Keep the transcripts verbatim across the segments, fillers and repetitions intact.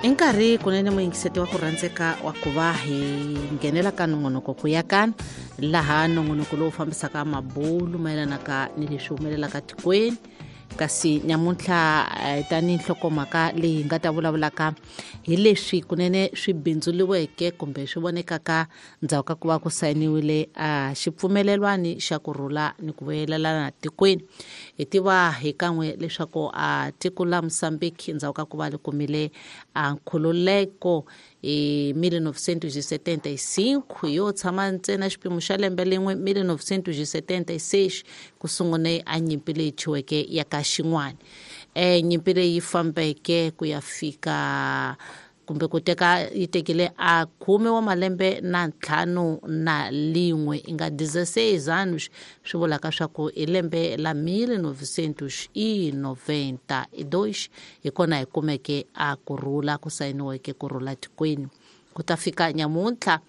I nkarhi kunene muyingiseti wa ku rhandzeka wa ku va hi nghenela ka nongonoko ku ya kana laha nongonoko lowu fambisaka mabulu mayelanaka ni leswi humelelaka tikweni. Kasi nyamuntlha tanihi nhlokomhaka leyi hi nga ta vulavulaka hi leswi kunene swi bindzuriweke kumbe swi vonekaka ndzhaku ka ku va ku sayiniwile a xipfumelelwani xa ku rhula ni ku vuyelelana tikweni. Hi tiva hi kan'we leswaku a tiko la Mozambique ndzhaku ka ku va li kumile a nkhululeko hi mille novecentos e setenta e cinco yo tshama ntsena xipimo xa lembe lin'we mille novecentos e setenta e seis ku sungune a nyimpi leyi thyiweke ya ka xin'wana. Eh nyimpi leyi fambeke ku ya fika kumbe ku teka yi tekile a khume wa malembe na ntlhanu na lin'we i nga dezesseis anos, swi vulaka swa ku i lembe la mille novecentos e noventa e dois hi kona hi kumeke a ku rhula ku sayiniweke ku rhula tikweni. Ku ta fika nyamuntlha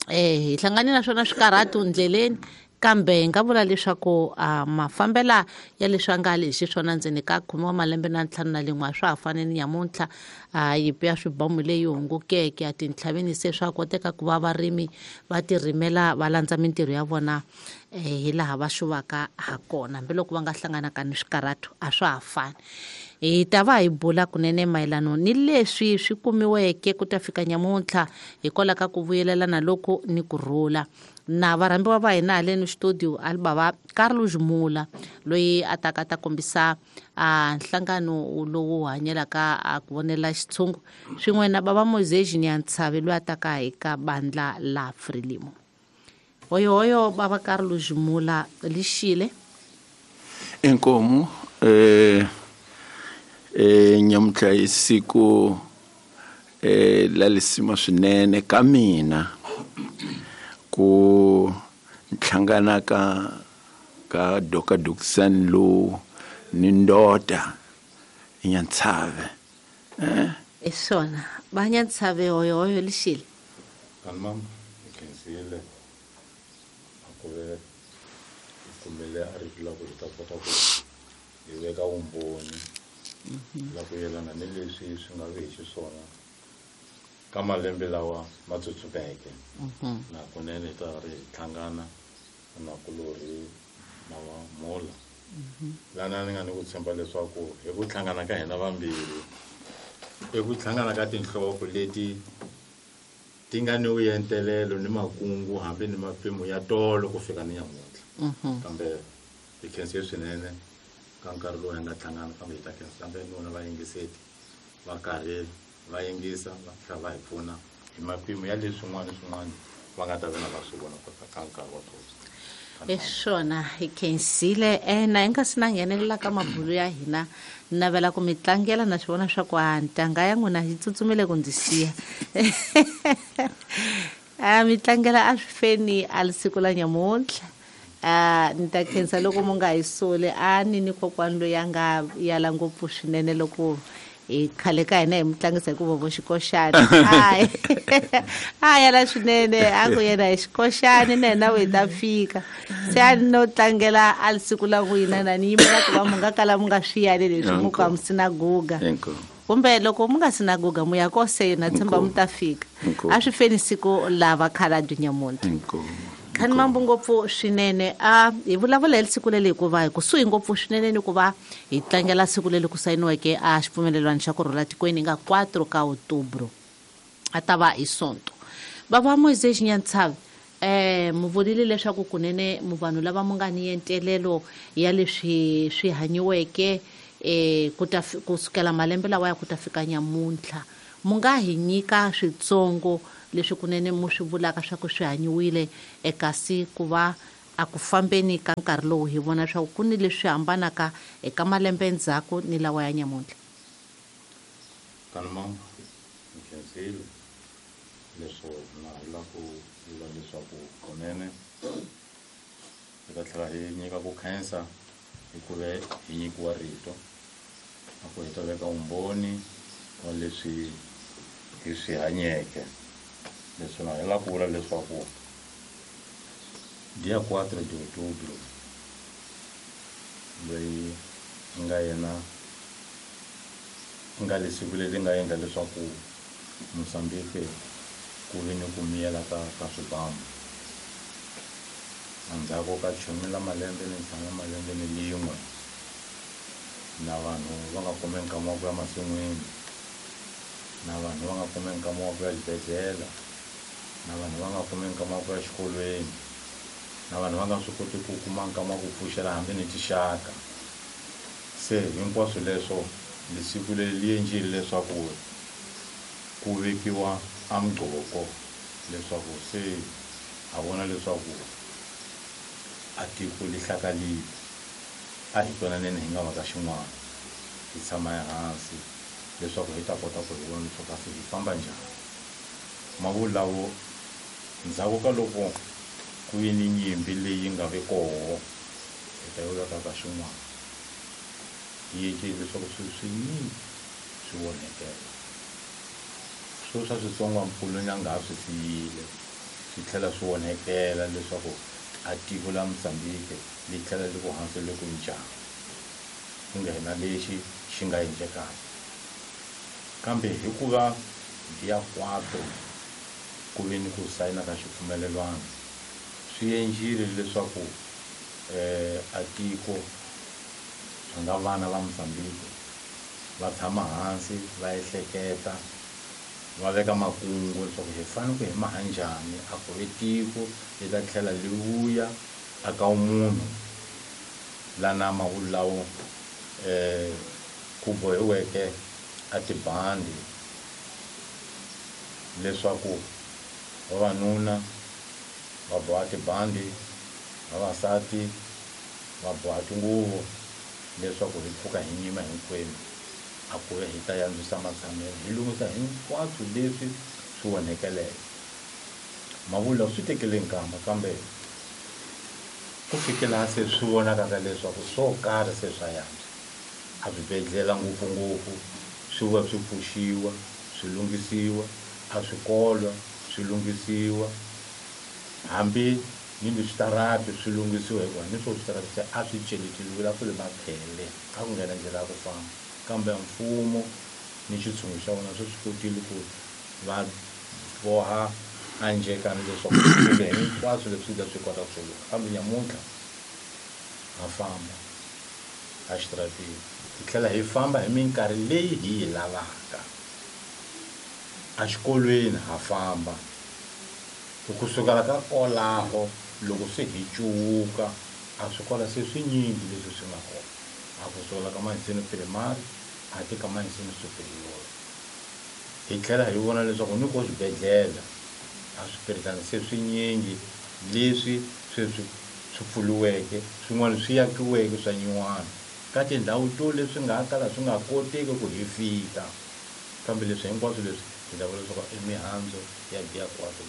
eh hi hlangane na swona swikarhatu ndleleni, kambe hi nga vula leswaku a mafambela ya leswi a nga lexi swona ndzeni ka khume wa malembe na ntlhanu na lin'we a swa ha fani ni nyamuntlha. A yimpi ya swibamu leyi hungukeke a tintlhaveni se swa koteka ku va varimi va tirimela va landza mintirho ya vona hi laha va xuvaka ha kona, hambiloko va nga hlanganaka ni swikarhatu a swa ha fani. Hi ta va hi bula kunene mayelano ni leswi swi kumiweke ku ta fika nyamuntlha hikwalaho ka ku vuyelelana loku ni ku rhula. Na varhambiwa va hina haleni studio alibava Carlos Mula loyi a taka ta kombisa a nhlangano lowu hanyelaka a ku vonela xitshungu, swin'we na bava Moisés Nyantshavi loyi a taka hi ka bandla la Frelimo. Hoyohoyo bava Carlos Mula lixile. Inkomu eh eh nyamuntlha i siku eh la lisima swinene ka mina ku nhlangana ka ka Doka Duxan lo ni ndota Nyantsave. Eh i swona va Nyantsave hoyohoyo lixile. Kanmam khensile a ku ve kumele a ri la ku ta kota ku hi veka vumbhoni la ku yelana ni leswi swi nga vi hi xiswona ka malembe lawa ma tsutsumeke. Na kunene hi ta ri hlangana na kulorhi na va Mula. Lana ni nga ni ku tshemba leswaku hi ku hlangana ka hina vambirhi, i ku hlangana ka tinhloko leti ti nga ni vuentelelo ni makungu hambi ni mapimo ya tolo ku fika ni nyamuntlha. Kambe hi khense swinene ka nkarhi lowu hi nga hlangana, kambe hi ta khensa kambe ni vona vayingiseti va karhi va yingisa va tlhela va hi pfuna hi mapimo ya leswin'wana swin'wana va nga ta vona va swi vona ka nkarhi wa sweswi. I swona hi khensile. Eh na hi nga si na nghenelela ka mabulu ya hina, ni navela ku mi tlangela na swi vona swa ku a ntanga ya n'wina yi tsutsumile ku ndzi siya. A mi tlangela a swi feni a siku la nyamuntlha. A ni ta khensa loko mu nga hi soli a ni ni kokwani loyi a nga yala ngopfu swinene loko hi khale ka hina hi mu tlangisa hi ku vovo xikoxani. Hayi a yala swinene a ku yena hi xikoxani na hina hi ta fika. Se a ni no tlangela a siku la n'wina na ni yimela ku va mu nga kala mu nga swi yali leswi mu ka mu sinagoga. Kumbe loko mu nga sinagoga mu ya kose na tshemba mu ta fika. A swi feni siku lava khalabye nyamuntlha. Khani mambo ngopfu swinene. A hi vulavula hi siku leri hikuva hi kusuhi ngopfu swinene ni ku va hi tlangela siku leri ku sayiniweke a xipfumelelwano xa ku rhula tikweni nga quatro ka outubro a ta va hi Sonto. Bava Moisés Nyantshavi eh mu vulile leswaku kunene mu vanhu lava mu nga ni entelelo ya leswi swi hanyiweke eh ku ta ku sukela malembe lawa ya ku ta fika nyamuntlha, mu nga hi nyika switsongo leswi kunene mu swi vulaka swa ku swi hanyiwile ekasi ku va a ku fambeni ka nkarhi lowu hi vona swa ku ni leswi hambanaka eka malembe endzhaku ni lawa ya nyamuntlha. Kanmam ni khensile leswo na la ku vula leswaku kunene hi ta tlhela hi nyika ku khensa hikuva hi nyikiwa rito a ku hi ta veka vumbhoni wa leswi hi swi hanyeke. Leswi na hi la ku vula leswaku dia quatro de outubro loyi nga yena Nga lesiku leri nga endla leswaku Mozambique ku ve ni ku miyela ka ka swibamu. Endzhaku ka khume la malembe ni ntlhanu la malembe ni lin'we na vanhu va nga kumi nkama wa ku ya masin'wini, na vanhu va nga kumi nkama wa ku ya xibedhlele, na vanhu va nga kumi nkama wa ku ya xikolweni, na vanhu va nga swi koti ku kuma nkama wa ku pfuxela hambi ni tixaka. Se hinkwaswo leswo lesiku leri li endlile leswaku ku vekiwa a mugqoko leswaku se ha vona leswaku a tiko li hlakalile. A hi twananeni hi nga va ka xin'wana, hi tshama ehansi leswaku hi ta kota ku hi vona leswaku kasi hi famba njhani. Mavulawo ndzhaku ka loko ku vi ni nyimpi leyi nga ve koho, hi ta yi veka ka xin'wana, yi endlile leswaku swilo swinyingi swi onhekela. Swo swa switsongwampfuluni a nga ha swi siyile swi tlhela swi onhekela leswaku a tiko la Mozambique li tlhela li ku hansi le ku njhani, ku nghena lexi xi nga endlekaka. Kambe hikuva dia quatro ku ve ni ku sayina ka xipfumelelwano, swi endlile leswaku a tiko swi nga vana va Mozambique va tshama hansi va ehleketa, va veka makungu leswaku hi fanele ku hi maha njhani a ku ve tiko li ta tlhela li vuya a ka munhu la na mavulawo ku bohiweke a tibandi leswaku vavanuna va boha tibandi, vavasati va boha tinguvu leswaku hi pfuka hi nyima hinkwenu a ku ve hi ta yandzisa matshamelo, hi lunghisa hinkwaswo leswi swi onhekeleke. Mavula swi tekele nkama, kambe ku fikela se swi vonakaka leswaku swo karhi se swa yantswa. A swibedhlele ngopfungopfu swi va swi pfuxiwa, swi lunghisiwa, a swikolo swi lunghisiwa, hambi ni le switarati swi lunghisiwa, hikuva ni swo switarati se a swi celeteliwile, a ku ri makhele, a ku nghena ndlela ya ku famba. Kambe mfumo ni xitshungu xa wona swi swi kotile ku va boha a njhekani leswaku swilo hinkwaswo leswi ta swi kota ku swi. Kambe nyamuntlha ha famba a xitaratini, hi tlhela hi famba hi minkarhi leyi hi yi lavaka. A xikolweni ha famba, ku sukela ka kwalaho loko se hi cuwuka a swikolo se swinyingi leswi swi nga kona. A ku sukela ka Manzini primary a ti ka Manzini superior. Hi tlhela hi vona leswaku ni ko swibedhlele a swipiritana se swinyingi leswi sweswi swi pfuriweke, swin'wana swi akiweke swa nyuwana ka tindhawu to leswi nga ha kala swi nga koteki ku hi fika. Kambe leswi hinkwaswo leswi hi ta vula leswaku i mihandzu ya dia quatro.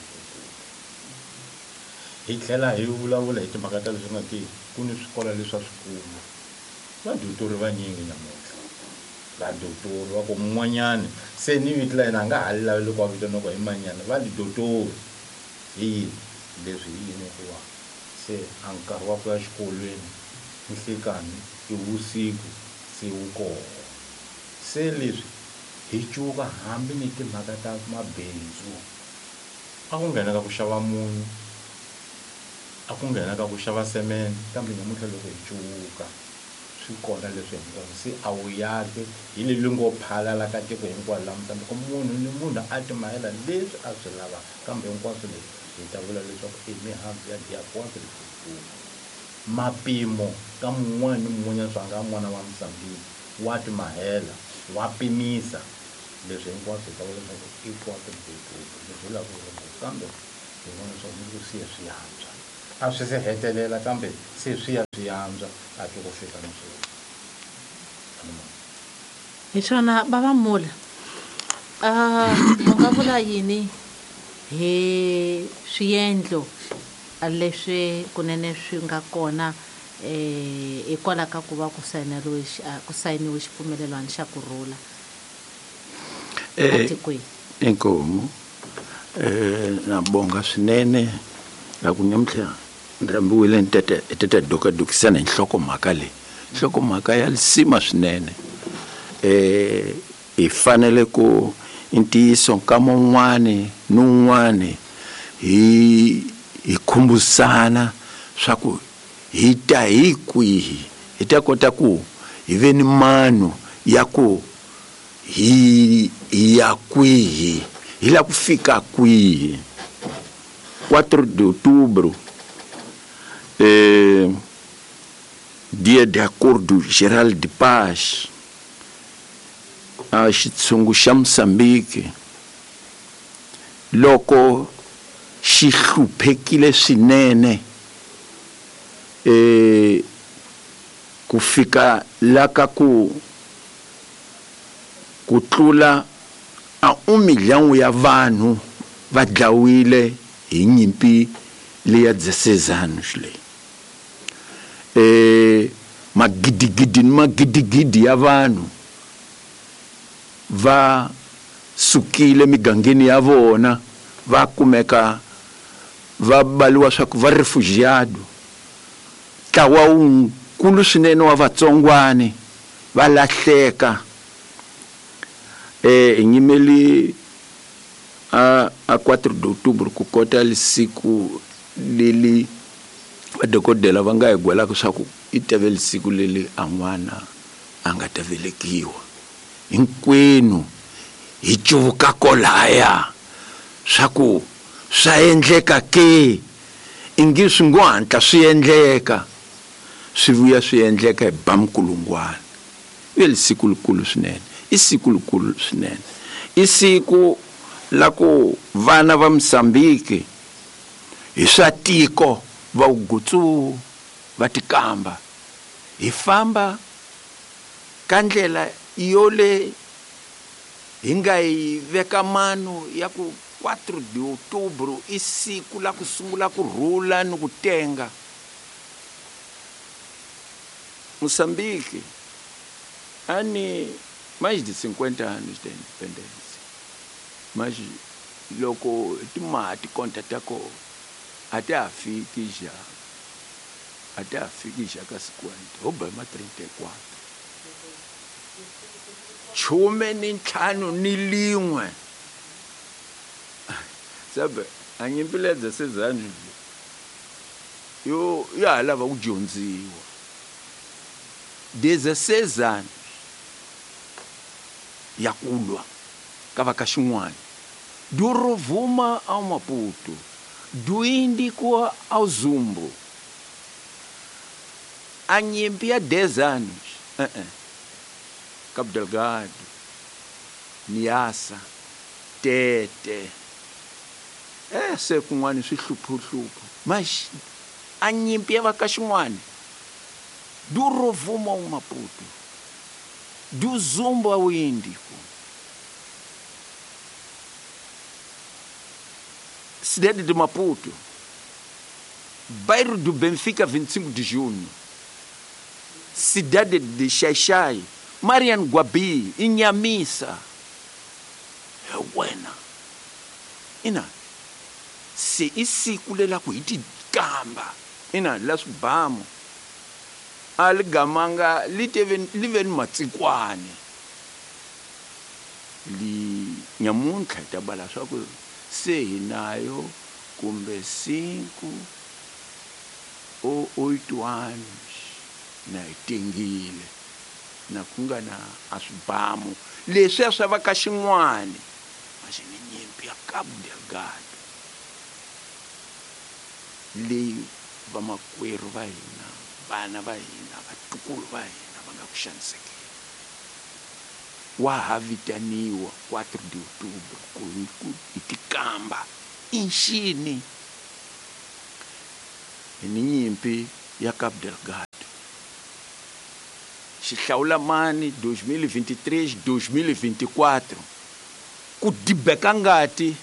Hi tlhela hi vulavula hi timhaka ta leswi nga ti ku ni swikolo leswi a swikulu, vadyutori vanyingi namuntlha, vadotori va ku mun'wanyani se ni vito la yena a nga ha li lavi loko a vitaniwa ku hi manyana, va li dotori. Hi yini leswi? Hi yini? Hikuva se a nkarhi wa ku ya xikolweni nhlikani i vusiku se wu koho. Se leswi hi cuka hambi ni timhaka ta mabindzu, a ku nghena ka ku xava munyu, a ku nghena ka ku xava semende, kambe namuntlha loko hi cuka swi kona leswi hinkwaswo se a wu yaki hi le ngo phalala ka tiko hinkwaro la Mozambique, munhu ni munhu a ti mahela leswi a swi lavaka. Kambe hinkwaswo leswi hi ta vula leswaku i mihandzu ya dia quatro. Mapimo ka mun'wana ni mun'wanyana swa nga n'wana wa Mozambique wa ti mahela, wa pimisa leswi hinkwaswo hi ta vula leswaku i quatro. Leswi hi lavaka ku kambe hi vona leswaku ni ku siya swi yantswa, a swi se hetelela, kambe se swi ya swi yantswa a ti ku fika na sweswi. Hi swona Bava Mula, u nga vula yini hi swiendlo leswi kunene swi nga kona eh hikwalaho ka ku va ku sayineriwe ku sayiniwe xipfumelelwano xa ku rhula etikweni? Inkomu eh na bonga swinene la ku namuntlha ni rhambiwile ni tata hi tata dokadokisana hi nhlokomhaka leyi, nhlokomhaka ya lisima swinene. Eh Hi fanele ku ntiyiso nkama wun'wani ni wun'wani hi hi khumbusana swa ku hi ta hi kwihi, hi ta kota ku hi ve ni mano ya ku hi ya kwihi, hi la ku fika kwihi. quatro de outubro, eh, dia de Acordo Geral de Paz, a xitshungu xa Moçambique loko xi hluphekile swinene eh ku fika la ka ku ku tlula a um milhão ya vanhu va dlawile hi nyimpi leya dezesseis anos leyi. Eh magidigidi ni magidigidi ya vanhu va sukile migangeni ya vona, va kumeka va baliwa swa ku va refugiado. Ntlawa wukulu swinene wa vatsongwani va lahleka. Eh hi nyimeli a a quatro de outubro ku kota lisiku leli vadokodela va nga hi gwelaka swa ku i teve lisiku leli a n'wana a nga ta velekiwa. Hinkwenu hi cuvuka kolaya swa ku swa endleka ke, ingi swi ngo hatla swi endleka, swi vuya swi endleka hi ba minkulungwana. I lisiku likulu swinene, i siku likulu swinene, i siku la ku vana va Moçambique hi swa tiko va gutsu va tikamba hi famba ka ndlela yole hi nga yi veka mano ya ku quatro de outubro i siku la ku sungula ku rhula ni ku tenga. Moçambique ani mais de cinquenta anos de independência, mas loko timati konta ta kona a ta ha fiki ja, a ta ha fiki ja ka cinquenta, ho ba ma trinta e quatro. Khume ni ntlhanu ni lin'we. Sabe, a nyimpi leya dezesseis anos yo ya ha lava ku dyondziwa. Dezesseis anos ya ku lwa ka va ka xin'wana, do Rovuma ao Maputo, do Índico ao Zumbo. A nyimpi ya dez anos, uh-uh. Cabo Delgado, Niassa, Tete, é se kun'wana swi hluphuhluphu, mas a nyimpi ya va ka xin'wana, do Rovuma ao Maputo, do Zumbo ao Índico, cidade de Maputo, bairro do Benfica, vinte e cinco de junho, cidade de Xaixai, Mariano Guabi, Inhamissa. É wena. Ina, se isiku lela ku hi tikamba, ina la swibamu a li gamanga li teve li ve ni matsikwani. Li nyamuntlha hi ta bala swa ku se hi nayo kumbe cinco ou oito anos na hi tengile na ku nga na a swibamu leswiya swa va ka xin'wani, mas ni nyimpi ya Cabo Delgado leyi vamakwerhu va hina, vana va hina, vatukulu va hina va nga ku xanisekeni. Wa ha vitaniwa quatro de outubro ku hi tikamba i nxini hi ni nyimpi ya Cabo Delgado. Xihlawula mani dois mil e vinte e três, dois mil e vinte e quatro ku dibeka ngati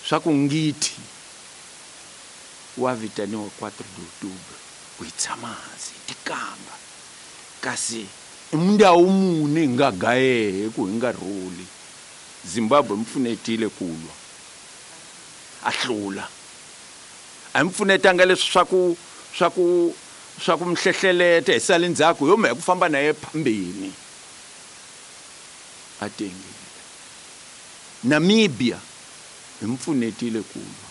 swa ku ngiti wa vitaniwa quatro de outubro ku hi tshama hansi hi tikamba, kasi i ndhawu muni hi nga gayehe ku hi nga rhuli. Zimbabwe mi pfunetile ku lwa a hlula, a mi pfunetanga leswi swa ku swa ku swa ku mi hlehleleta hi sale ndzhaku yo mhaka ku famba na ye phambeni. A tengile. Namibia hi mpfunetile ku lwa,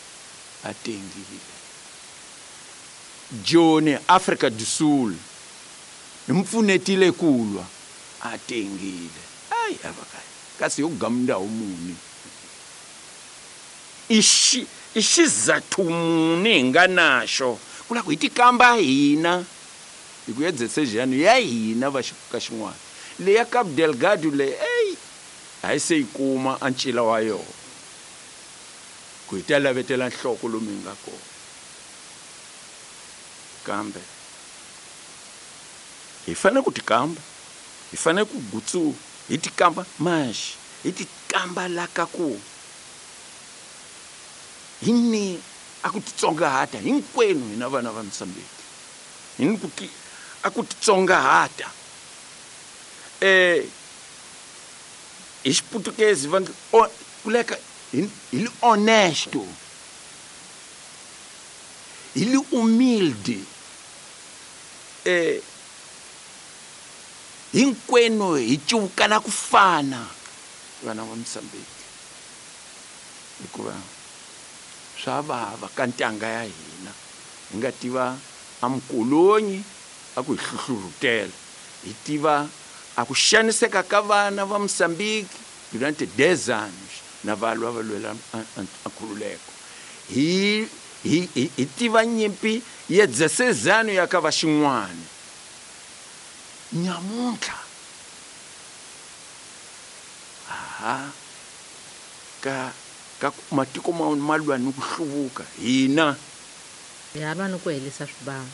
a tengile. Joni Africa do Sul hi mpfunetile ku lwa, a tengile. Ai avakaya kasi yo gamndawo muni ixi ixizathu muni hi nga naxo ku lava ku hi tikamba hina hi ku ya decision ya hina va ka xin'wana leya Cabo Delgado leyi ey a yi se yi kuma a ncila wa yona ku hi ta lavetela nhloko lomu hi nga kona kambe hi fanele ku tikamba hi fanele ku gutsu hi tikamba maxi hi tikamba la ka ku hi ni a ku titsongahata hinkwenu hina vana va Mozambique hi ni ku ti a ku titsongahata eh hi xiputukezi va kuleka hi li honesto hi li humilde eh hinkwenu hi cuvukana ku fana vana va Mozambique hikuva swa vava ka ntanga ya hina hi nga tiva a mukolonyi a ku hi hluhlurhutela hi tiva a ku xaniseka ka vana va Mozambique durante dez anos na va lwa va lwela a nkhululeko hi hi hi tiva nyimpi ya dezesseis anos ya ka va xin'wana nyamuntlha aha ka ka matiko ma ma lwa ni ku hluvuka hina hi lwa ni ku helisa swibamu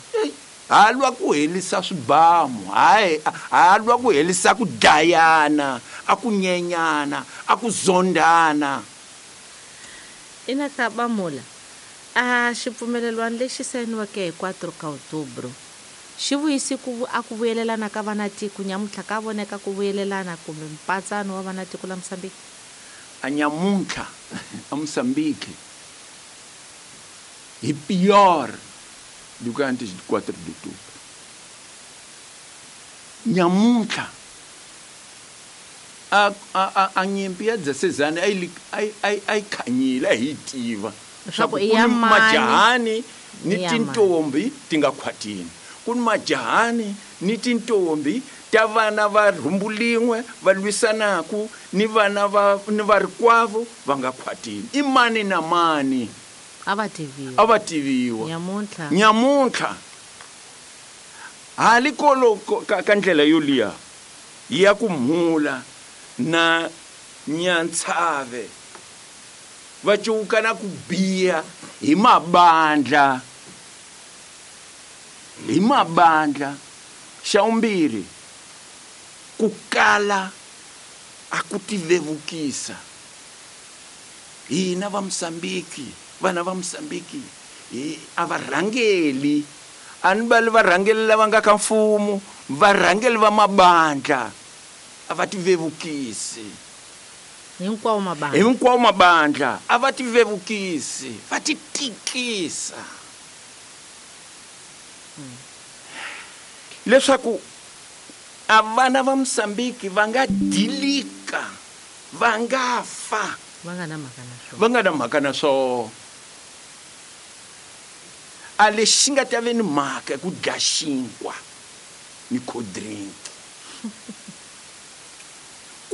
ha lwa ku helisa swibamu hayi ha lwa ku helisa ku dlayana a ku nyenyana a ku zondana ina ka Bamula a xipfumelelwano lexi sayiniweke hi quatro ka outubro xi vuyisi ku a ku vuyelelana ka vanatiko nyamuntlha ka voneka ku vuyelelana kumbe mpatsano wa vanatiko la Mozambique a nyamuntlha a Mozambique hi pior do que antes de quatro de outubro. Nyamuntlha a a a nyimpi ya dezesseis anos a yi a yi khanyile a hi tiva leswaku i ya majahani ni tintombi ti nga khwatini ku ni majahani ni tintombi ta vana va rhumbu lin'we va lwisanaku ni vana va ni varikwavo va nga khwatini i mani na mani a va tiviwa a va tiviwa nyamuntlha nyamuntlha hali kolo ka, ka ndlela yo liya ya ku mhula na nyantshave va cuvukana ku biha hi mabandla hi mabandla xa vumbirhi ku kala a ku tivevukisa hina va Mozambique vana va Mozambique hi a va rhangeli a ni vali varhangeli lava nga ka mfumo varhangeli va mabandla a va tivevukisi hinkwawo mabandla hinkwawo mabandla a va tivevukisi va ti tikisa leswaku a vana va Mozambique va nga dilika va nga fa va nga na mhaka na swona va nga na mhaka na swona a lexi nga ta ve ni mhaka ku dya xinkwa ni cold drink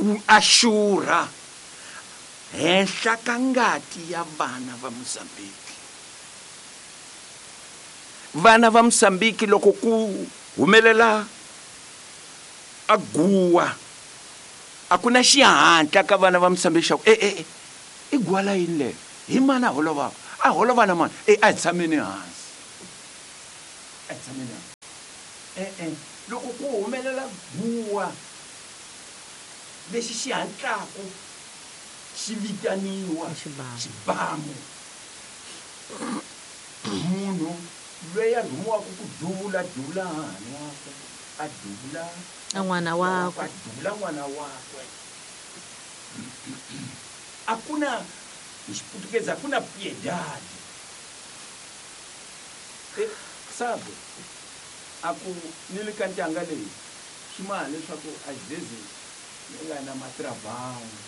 ku axurha henhla ka ngati ya vana va Mozambique vana va Mozambique loko ku humelela a guwa a ku na xihatla ka vana va Mozambique xa ku e e i guwa la yini leyo hi mani a holovaka a holova na mani e a hi tshameni hansi a hi tshameni hansi e-e loko ku humelela guwa lexi xi hatlaku xi vitaniwa xibamu munhu loyi a rhumiwaka ku duvula duvula hahani wakwe a duvula a n'wana wakwe a duvula n'wana wakwe a ku na hi xiputukezi a ku na piedade sabe a ku ni le ka ntanga leyi swi maha leswaku a xizezi Nga na matrabango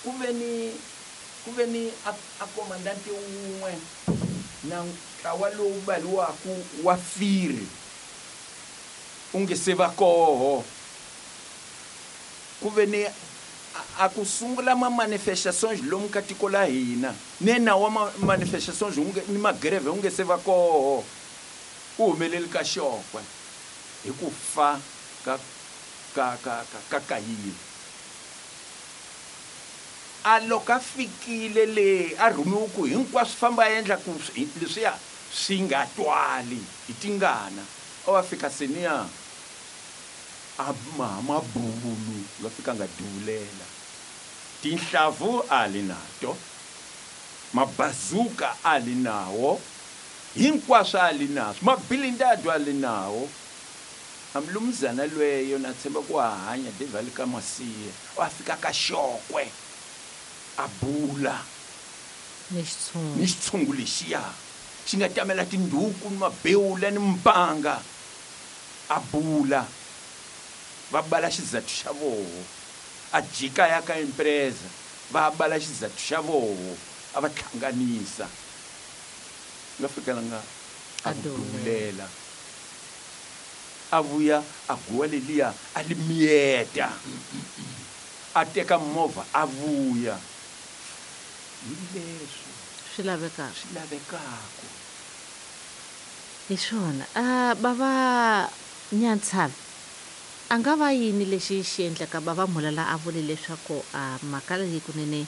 ku ve ni ku ve ni a, a komandante wun'we na ntlawa lowu baliwaku wa firi u nge se va koho ku ve ni a ku sungula ma manifestations lomu ka tiko la hina ne nawu wa ma manifestations wu nge ni magreve wu nge se va koho u humeleli ka xokwe hi ku fa ka ka ka ka ka kayile a loko a fikile le a rhumiwe ku hinkwaswo famba a endla ku leswiya swi nga twali hi tingana a wa fika seniya a ma mabulu va fika nga dulela tinhlavu a li nato mabazuka a li nawo hinkwaswo a li naswo mabilindado a li nawo amlumzana lweyo na tshemba ku hanya devali ka masiya wa fika ka xokwe a bula ni xitshungu ni xitshungu lexiya xi nga tamela tinduku ni mabewula ni mpanga a bula va bala xizathu xa voho a jika ya ka empresa va bala xizathu xa voho a va hlanganisa nga fikela nga a dulela a vuya a guwa leliya a li miyeta a teka movha a vuya hi leswi swi lavekaka swi lavekaka hi swona a bava Nyantshavi a nga va yini lexi xi endlaka bava Mhulala a vule leswaku a mhaka leyi kunene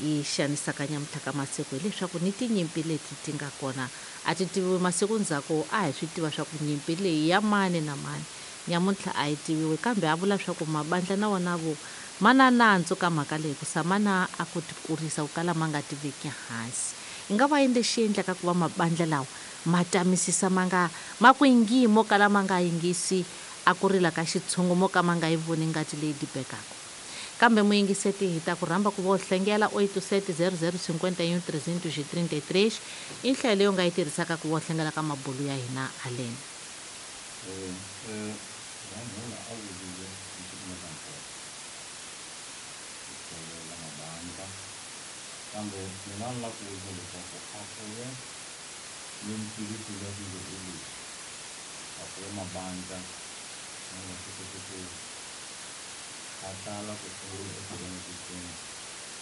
yi xanisaka nyamuntlha ka masiku hileswaku ni tinyimpi leti ti nga kona a ti tiviwi masiku ndzhaku a hi swi tiva swa ku nyimpi leyi ya mani na mani nyamuntlha a yi tiviwi kambe a vula swa ku mabandla na wona vo ma na nandzu ka mhaka leyi ku samana a ku ti kurisa ku kala ma nga tiveki hansi i nga va yini lexi endlaka ku va mabandla lawa ma tamisisa ma nga ma ku yingi mo kala ma nga yingisi a ku rila ka xitshungu mo ka ma nga yi voni ngati leyi dibekaka kambe muyingiseti hi ta ku rhamba ku vo hlengela oito sete zero zero cinquenta e um trezentos e trinta e três i nhlayo leyi u nga yi tirhisaka ku vo hlengela ka mabulu ya hina haleni Ramhula a vurile leswi nga swa nkoka ku tlhelela mabandla kambe mina ni lava ku vutisa leswaku a ku ve ni mpfilimpfilu ya swilo hi leswi a ku ve mabandla ma nga swi koti ku hatla ku sungula etikweni xitsonga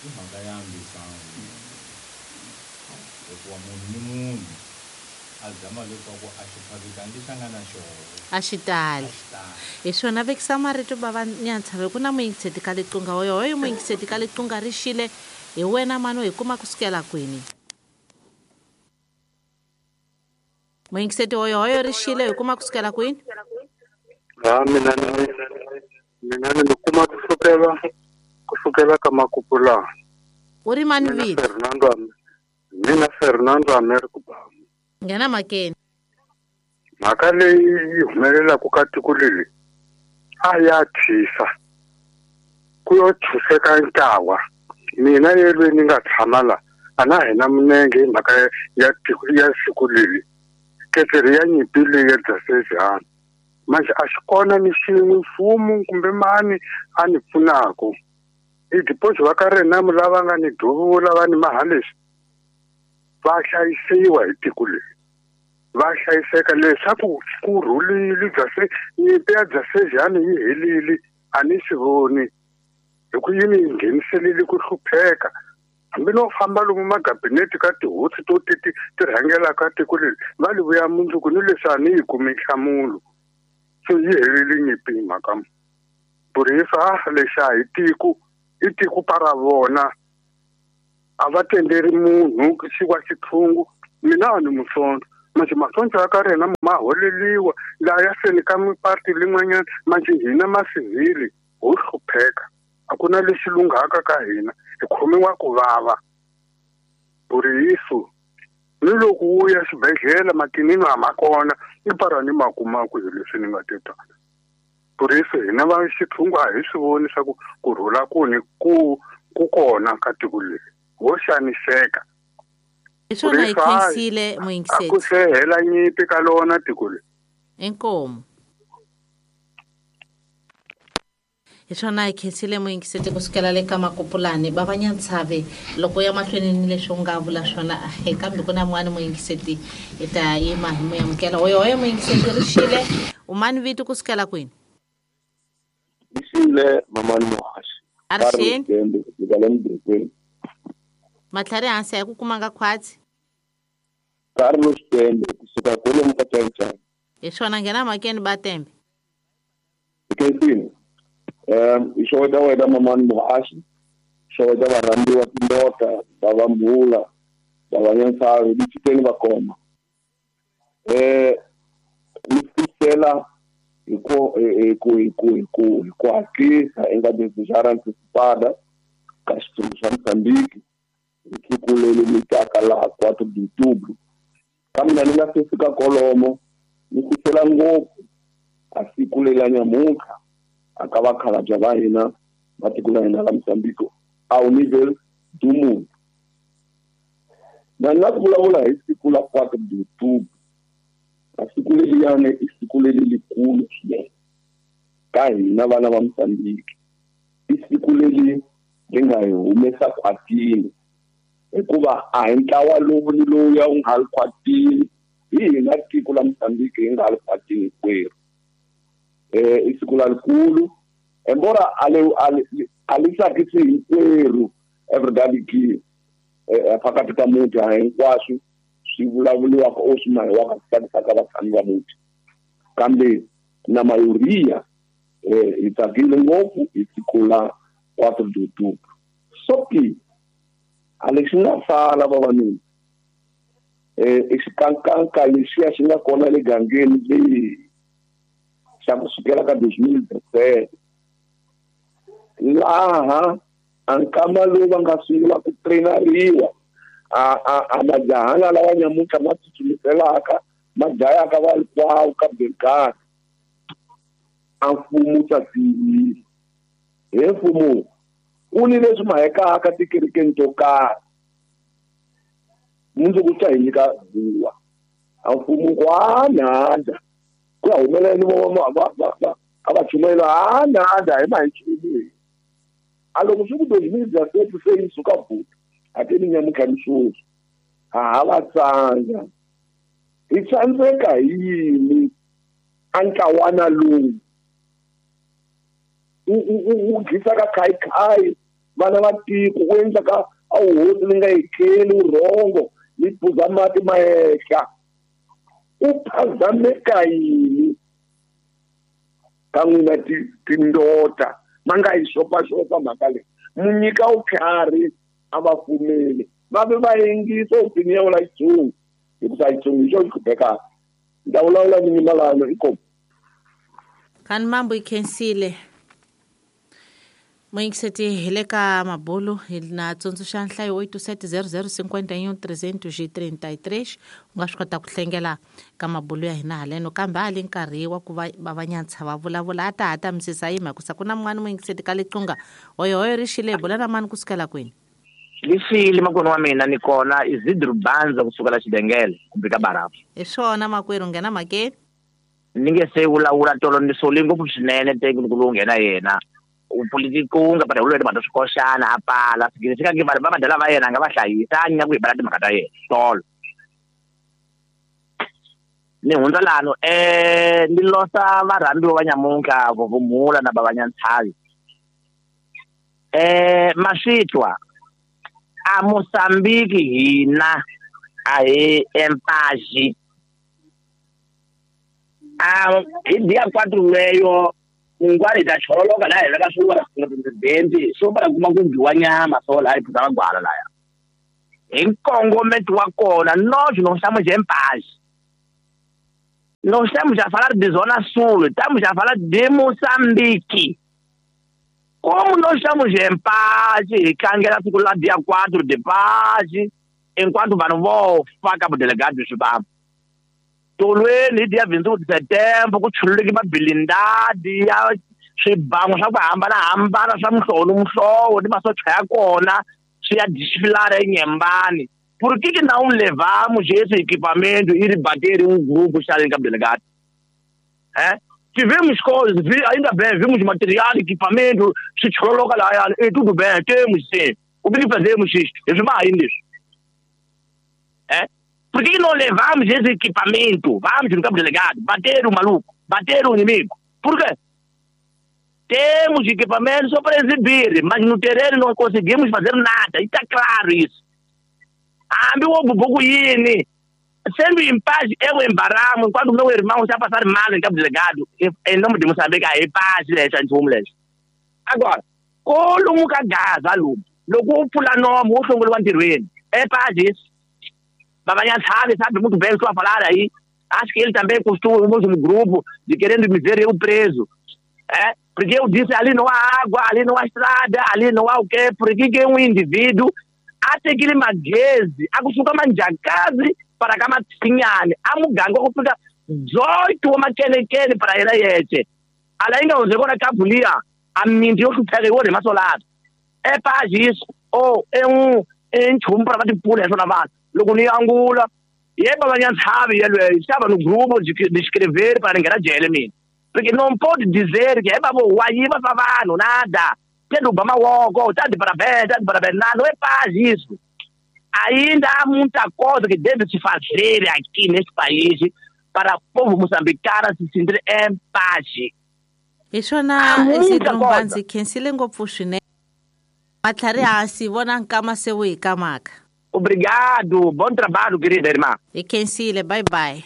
i mhaka ya mbisano hikuva munhu ni munhu a zama leswaku a xiphavikani lexi a nga na xona a xi tali hi swona vekisa marito bava Nyantshavi ku na muyingiseti ka liqunga hoyohoyo muyingiseti ka liqunga ri xile hi wena mani hi kuma kusukela kwini muyingiseti hoyohoyo ri xile hi kuma kusukela kwini ha mina ni mina ni mi kuma kusukela kusukela ka Makupula u ri mani vito Fernando mina Fernando Americo Bamu nghena makeni mhaka leyi yi humelelaka ka tiko leri a ya tshisa ku yo tshuseka ntlawa mina yelweni ni nga tshama la a na hina minenge hi mhaka ya tiko ya siku leri ketseri ya nyimpi leyi ya Dzasejana manje a xi kona ni xin'we mfumo kumbe mani a ni pfunaka i deposit va ka rina lava nga ni duvula va ni maha leswi va hlayisiwa hi tiko leri va hlayiseka leswaku ku rhulile Dzase nyimpi ya Dzasejana yi helile a ni swi voni hi ku yi ni ngheniselile ku hlupheka hambi no famba lomu magabinete ka tihosi to ti ti ti rhangelaka tiko leri va li vuya mundzuku ni leswi a ni yi kumi nhlamulo so yi helile nyimpi hi mhaka burisa lexi a hi tiko i tiko para vona a va tenderi munhu xi wa xithungu mina a ni musonto manje masonto ya ka rina ma holeliwa laha ya seni ka miparti lin'wanyana manje hina masivhili ho hlupheka a ku na lexi lunghaka ka hina hi khomiwa ku vava buriso ni loko wu ya xibedhlele makinini a ma kona i para ni ma kumaku hi leswi ni nga te tala buriso hina va xithungu a hi swi voni swa ku ku rhula kuni ku ku kona ka tiko leri ho xaniseka hi swona hi khensile muyingiseti a ku se hela nyimpi ka lona tiko leri inkomu Hi swona hi khensile muyingiseti kusukela le ka Makupulani va Vanyantshave loko ya mahlweni ni leswi u nga vula swona kambe ku na mun'wani muyingiseti hi ta yima hi mu amukela. Hoyo hoyo muyingiseti ri xile u mani vito kusukela kwini? Rixile mamani Muhaxi. A ri xini? Matlhari hansi a hi ku kumanga khwatsi. Carlos Tembe kusuka kwalomu ka Chaichai. Hi swona nghena mhakeni ba Tembe. Khensile. Um i xeweta wena mamani Muhaxi, xeweta varhambiwa tindota va va Mbula va Vanyantshavi ni Chiteni va koma. Eh ni fikela hi ku hi ku hi ku hi ku hi ku hatlisa i nga desejar antecipada ka xitsundzuxo xa Mozambique hi siku leri mi taka laha quatro de outubro. Kambe na ni nga se fika kolomo ni fikela ngopfu a siku leri la nyamuntlha a ka vakhalabya va hina va tiko la hina la Mozambique ao nível do mundo. Na ni la ku vulavula hi siku la quatro de outubro. A siku leriyani i siku leri likulu swinene ka hina vana va Mozambique. I siku leri ri nga hi humesa khwatini hikuva a hi ntlawa lowu ni lowuya wu nga ri khwatini, hi hina tiko la Mozambique hi nga ri khwatini hinkwerhu. Eh i siku lalikulu embora a le a li tsakisi hinkwerhu everybody ki eh phakathi ka muti a hinkwaswo swi vulavuliwaka o swi mahiwaka swi tsakisaka vatshami va muti, kambe na mayoria eh hi tsakile ngopfu hi siku la quatro de outubro. Só que a lexi nga sala vavanuna eh i xikankanka lexiya xi nga kona le gangeni leyi xa ku sukela ka dois mil e dezessete laha a nkama lowu va nga sungula ku trainariwa a a a majahana lawa nyamuntlha ma tsutsumiselaka ma dlayaka valikwawo ka Belgari a mfumo wu tsatsiyile. He mfumo ku ni leswi mahekaka tikerekeni to karhi mundzuku ta hi nyika buwa a mfumo ku a nandza ku ya humelela ni va a va chumayela a nandza hi ma hi nchumu. A loko swi ku dois mil e dezessete se yi suka buta a ti ni nyamuntlha ni sweswi ha ha va tsandza. Hi tsandzeka hi yini a ntlawana lowu wu dlisaka khayikhayi vana va tiko wu endlaka a wu hosi ni nga etleli vurhongo ni phuza mati ma ehla u phazameka yini ka n'wina tindota ma nga yi xopaxopa mhaka leyi mu nyika vutlhari a va pfumeli va ve va yingisa opinion la Xitsonga hikuva Xitsonga hi xona xi khumbekaka. Ni ta vulavula ni nyimalano inkomu. Kani mambo yi khensile muyingiseti hi le ka mabulu hi na tsundzuxa nhlayo oito sete zero zero cinquenta e um trezentos e trinta e três u nga swi kota ku hlengela ka mabulu ya hina haleno kambe a li nkarhi wa ku va va Vanyantsha va vulavula a ta ha ta misisa yima hikusa ku na mun'wani muyingiseti ka Liqunga hoyo hoyo ri xile hi bula na mani kusukela kwini? Lixile makwenu wa mina ni kona Isidro Banza kusukela Xidengele kumbe ka Barafu. Hi swona makwerhu nghena mhakeni. Ni nge se vulavula tolo ni sole ngopfu swinene teke loko lowu nghena yena politiko nga para ulwele bantu swikoxana a pala significa que vanhu va madala va yena a nga va hlayisa a nyika ku hi bala timhaka ta yena tolo ni hundza lano eh ni losa varhambiwa va nyamuntlha Vuvumula na va Vanyantshavi eh maswitwa a Mozambique hina a hi empaji a hi dia quatro leyo un'wana ta chololoka laha hi veka swo presidente swo va kuma ku dyiwa nyama so laha hi phuza magwala laya hi nkongometo wa kona nós não estamos em paz. Não estamos a falar de Zona Sul, estamos a falar de Moçambique. Como nós estamos em paz, tlangela siku la dia quatro de paz, enquanto vanhu vo fa ka vudelegado bya Zimbabwe. Tolweni hi dia vinte e um de setembro ku chululeke mabilindadi ya swibango swa ku hambanahambana swa muhlovo ni muhlovo ni masocha ya kona swi ya desfilar eNyembani. Por que que não levamos esse equipamento e bater um grupo xa le ka delegado? Eh? Tivemos coisas, ainda bem, vimos material, equipamento, se coloca lá, e tudo bem, temos sim. O que fazemos isto? Ainda. É? Por que não levamos esse equipamento? Vamos no campo delegado, bater o maluco, bater o inimigo. Por quê? Temos equipamento só para exibir, mas no terreno não conseguimos fazer nada. E está claro isso. Ah, meu ovo, sendo em paz, eu embaramo, enquanto meu irmão está a passar mal em Cabo Delegado, em nome de Moçambique, é paz, agora, colo cagaza, logo pula nome, o songo é paz isso. Babanha sabe, sabe muito bem o que estou a falar aí. Acho que ele também costuma o mesmo grupo de querendo me ver eu preso. É? Porque eu disse, ali não há água, ali não há estrada, ali não há o quê? Porque que um indivíduo, até que ele magueze, acostuma manjacase para cá matinhane, a muganga kufika dezoito makelekele para ela yete. Ala inga uzekona kabulia, a minti yokupheka iwode masolado. É paz isso, ou é um enchum para bater pula essa vanhu. Loko ni angula, yeba vanyantshavi yelwe, estava no grupo de, de escrever para ninguém jele mina. Porque não pode dizer que é babo wayiba vanhu nada. Tendo bama woko, tá de parabéns, tá de parabéns, nada, não é paz isso. Ainda há muita coisa que deve se fazer aqui neste país para o povo moçambicano se sentir em paz. Isso na Isidro Mbanzi khensile ngopfu swinene. Matlhari hansi vona nkama se wu hi kamaka. Obrigado, bom trabalho, querida irmã. Hi khensile, bye bye.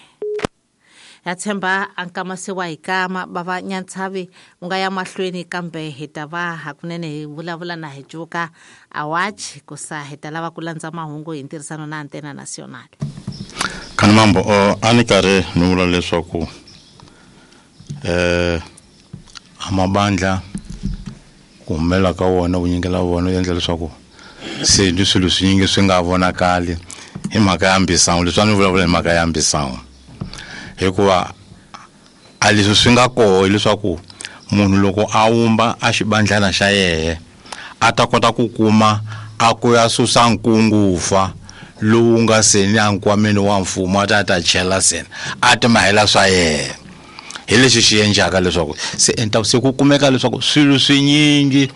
Ya tshemba a nkama se wa hi kama bava nyantshavi u nga ya mahlweni kambe hi ta va hakunene hi vulavula na hi cuka a watch ku sa hi ta lava ku landza mahungu hi ntirhisano na Antena Nacional. Khani mambo a ni karhi ni vula leswaku eh amabandla ku humela ka wona vunyingi la vona u endla leswaku se ni swilo swinyingi swi nga vonakali hi mhaka ya mbisango. Leswi a ni vulavula hi mhaka ya mbisango hikuva a leswi swi nga koho hileswaku munhu loko a wumba a xibandlana xa yehe a ta kota ku kuma a ku ya susa nkungufa lowu nga seni a nkwameni wa mfumo a ta ta chela seni a ti mahela swa yehe. Hi lexi xi endlaka leswaku se endla se ku kumeka leswaku swilo swinyingi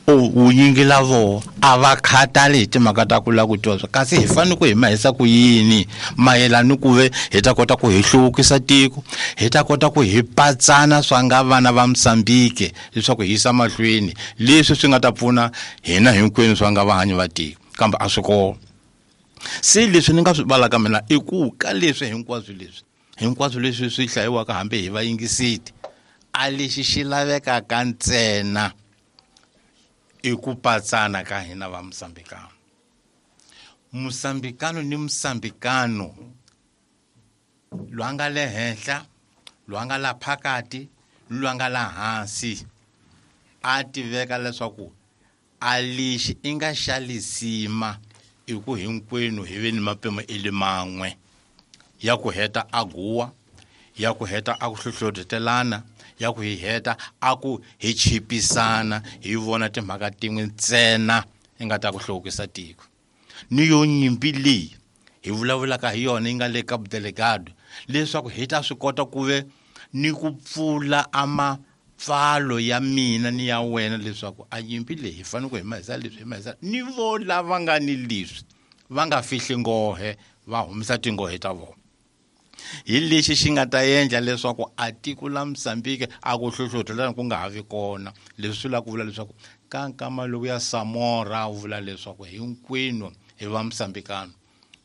vunyingi la voho a va khatali hi timhaka ta ku lava ku twa kasi hi fanele ku hi mahisa ku yini mayelana ku ve hi ta kota ku hi hluvukisa tiko, hi ta kota ku hi patsana swa nga vana va Mozambique leswaku hi yisa mahlweni leswi swi nga ta pfuna hina hinkwenu swa nga vahanyi va tiko, kambe a swi kona. Se leswi ni nga swi valaka mina i ku ka leswi hinkwaswo leswi hinkwaswo leswi swi hlayiwaka hambi hi vayingisiti a lexi xi lavekaka ntsena i ku patsana ka hina va Mozambikano. Mozambikano ni Mozambikano lwa nga le henhla, lwa nga la phakati, lwa nga la hansi a tiveka leswaku a lexi i nga xa lisima i ku hinkwenu hi ve ni mapimo i le man'we ya ku heta a guwa, ya ku heta a ku hlohlotelana, ya ku hi heta a ku hi chipisana hi vona timhaka tin'we ntsena i nga ta ku hluvukisa tiko. Ni yo nyimpi leyi hi vulavulaka hi yona yi nga le Cabo Delgado leswaku hi ta swi kota ku ve ni ku pfula amapfalo ya mina ni ya wena leswaku a nyimpi leyi hi fanele ku hi mahisa leswi hi mahisa ni vo lava nga ni leswi va nga fihli nghohe va humesa tinghohe ta vona. Hi lexi xi nga ta endla leswaku a tiko la Mozambique a ku hlohlotelana ku nga ha vi kona. Leswi swi lava ku vula leswaku ka nkama lowu ya Samora wu vula leswaku hinkwenu hi va Mozambikano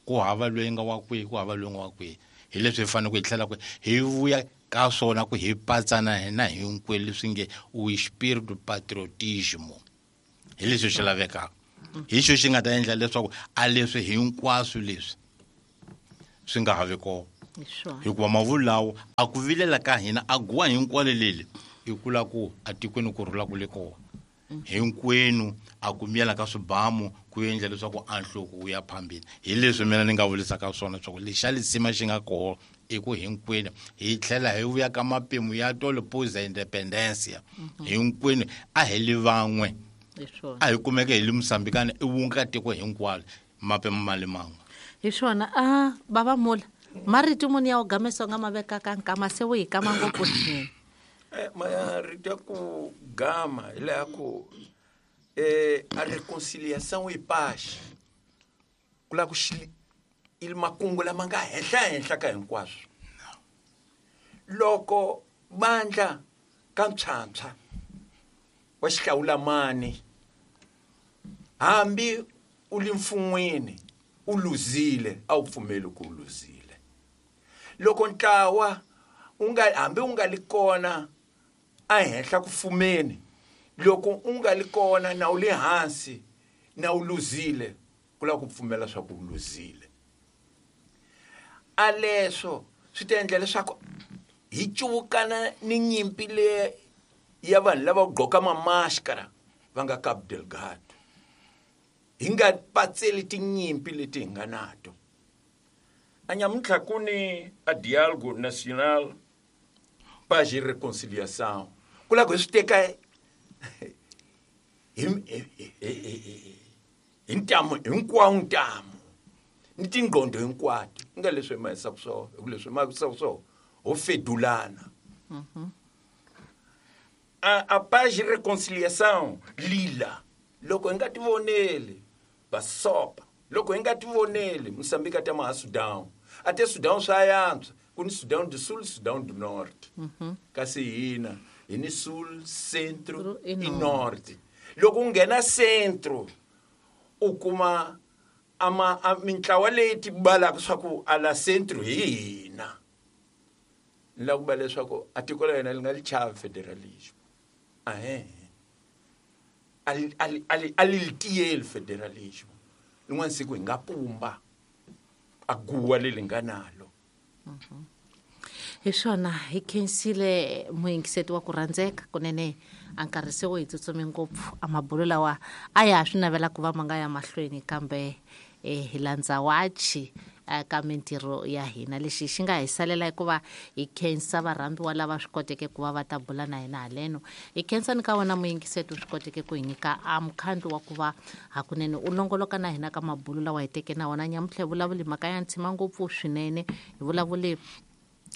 ku hava loyi nga wa kwihi ku hava loyi nga wa kwihi. Hi leswi hi fanele ku hi tlhela ku hi vuya ka swona ku hi patsana hina hinkwenu leswi nge o espírito patriotismo. Hi leswi swi lavekaka, hi xo xi nga ta endla leswaku a leswi hinkwaswo leswi swi nga ha vi kona. Hikuva mavulu lawo a ku vilela ka hina a guwa hinkwalo leli i kula ku a tikweni ku rhula ku le kona hinkwenu a ku miyela ka swibamu ku endla leswaku a nhloko wu ya phambili. Hi leswi mina ni nga vulisaka swona leswaku lexa lisima xi nga koho i ku hinkwenu hi tlhela hi vuya ka mapimo ya tolo poza independencia hinkwenu a hi li van'we a hi kumeke hi li Mozambikana i wunga tiko hinkwalo mapimo ma le man'we. Hi swona a bava mula marito muni ya u gamesa nga mavekaka nkama se wu hi kama ngopfu swinene. Eh, marito ya ku gama hi laha ku eh, a reconciliação e paz ku lava ku xi i makungu lama nga henhla henhla ka hinkwaswo. Loko bandla ka ntshwantshwa wa xihlawulamani hambi u li mfun'wini u luzile a wu pfumeli ku u luzile. Loko ntlawa u nga hambi u nga li kona a henhla ku fumeni, loko u nga li kona na u le hansi na u luzile, ku lava ku pfumela swa ku u luzile. A leswo swi ta endla leswaku hi cuvukana ni nyimpi leyi ya vanhu lava gqoka mamaskara va nga Cabo Delgado. Hi nga patseli tinyimpi leti hi nga nato. A nyamuntlha ku ni a diálogo nacional paz e reconciliação. Ku lava ku hi swi teka hi hi ntamu hinkwawo ntamu ni tingqondo hinkwato. Ku nga leswi hi mahisaka swona, hi ku leswi hi mahisaka swona ho fedulana. A a paz e reconciliação lila loko hi nga tivoneli basopa, loko hi nga tivoneli Mozambique a ta ma ha Sudan, a te Sudan swa yantswa ku ni Sudan do Sul, Sudan do Norte. Kasi hina hi ni Sul, Centro E e Norte. Norte. Loko u nghena Centro u kuma ama a mintlawa leyi tibalaka swa ku a la Centro hi hina. Ni lava ku va leswaku a tiko la hina li nga li chavi federalism. Ahe. A li, a li, a li, a li li tiyeli federalism. Rin'wana siku hi nga pumba a guwa leri nga nalo. Hi swona hi khensile muyingiseti wa ku rhandzeka kunene a nkarhi se wo hi tsutsume ngopfu a mabulo lawa a ya ha swi navela ku va ma nga ya mahlweni kambe eh, hi landza wachi ka mintirho ya hina. Lexi xi nga hi salela hikuva hi khensa varhambiwa lava swi koteke ku va va ta bula na hina haleno. Hi khensa ni ka wena muyingiseti u swi koteke ku hi nyika a mukhandlu wa ku va hakunene u longoloka na hina ka mabulo lawa hi teke na wona nyamuntlha. Hi vulavuli mhaka ya ntshima ngopfu swinene, hi vulavuli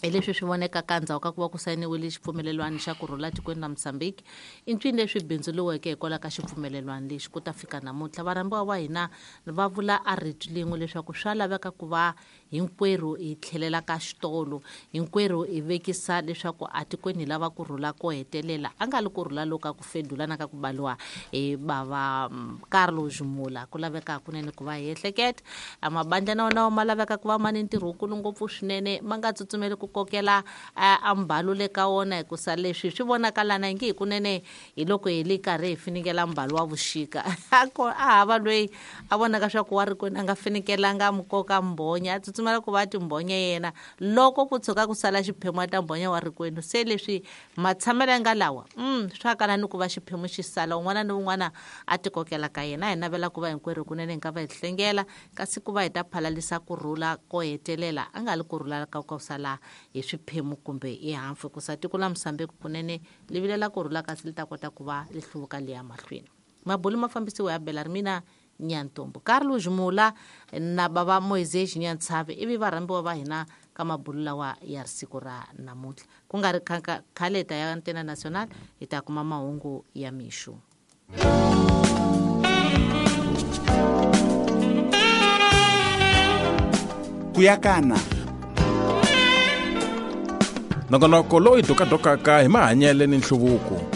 hi leswi swi vonekaka endzhaku ka ku va ku sayiniwile xipfumelelwano xa ku rhula tikweni ra Mozambique. I ncini leswi bindzuriweke hikwalaho ka xipfumelelwano lexi ku ta fika namuntlha. Varhambiwa va hina va vula a rito lin'we leswaku swa laveka ku va hinkwerhu hi tlhelela ka xitolo, hinkwerhu hi vekisa leswaku a tikweni hi lava ku rhula ko hetelela, a nga li ku rhula loku ka ku fedulana ka ku baliwa hi bava Carlos Mula. Ku laveka hakunene ku va hi ehleketa a mabandla na wona ma laveka ku va ma ni ntirho wukulu ngopfu swinene, ma nga tsutsumeli ku kokela a mbalo le ka wona hikusa leswi swi vonakalana ingi hikunene hi loko hi le karhi hi finikela mbalo wa vuxika. A ko a hava loyi a vonaka swa ku wa ri kwini a nga finikelanga mukoka mbhonya, a tsutsumela ku va timbhonya yena loko ku tshuka ku sala xiphemu a ta mbhonya wa rikwenu. Se leswi matshamelo ya nga lawa mm, swa kala ni ku va xiphemu xi sala un'wana ni un'wana a tikokela ka yena. Hi navela ku va hinkwerhu kunene hi nga va hi hlengela kasi ku va hi ta phalalisa ku rhula ko hetelela, a nga li ku rhula ka ku sala hi swiphemu kumbe hi hafu, hikusa tiko la Mozambique kunene li vilela ku rhula kasi li ta kota ku va li hluvuka li ya mahlweni. Mabulu ma fambisiwa ya Belarmina Nyantombo, Carlos Mula na bava Moises Nyantsave ivi varhambiwa va hina ka mabulu lawa ya siku ra namuntlha. Ku nga ri khale ta ya Antena Nacional hi ta kuma mahungu ya mixo. Kuyakana nongonoko lowu hi dokadokaka hi mahanyelo ni nhluvuko.